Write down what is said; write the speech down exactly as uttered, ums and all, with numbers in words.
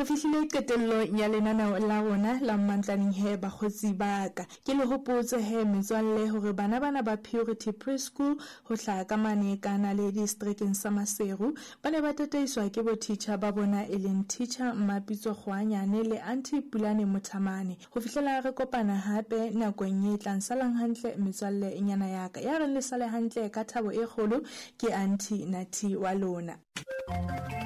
Re fihlile qetellong ya lenaneo la rona la Mmantlaneng he bakgotsi ba ka. Ke le hopotse he metswalle hore bana bana ba Purity Preschool ho hlaha ka mane ka Naledi seterekeng sa Maseru ba ne ba tataiswa ke bo teacher ba bona e leng teacher Mmapitso Kgoanyane le Aunty Pulane Mothamane. Ho fihlela re kopana hape nakong e tlang, salang hantle metswalle nyana ya ka. Ya reng le sale hantle ka thabo e kgolo ke Aunty Nathi wa lona.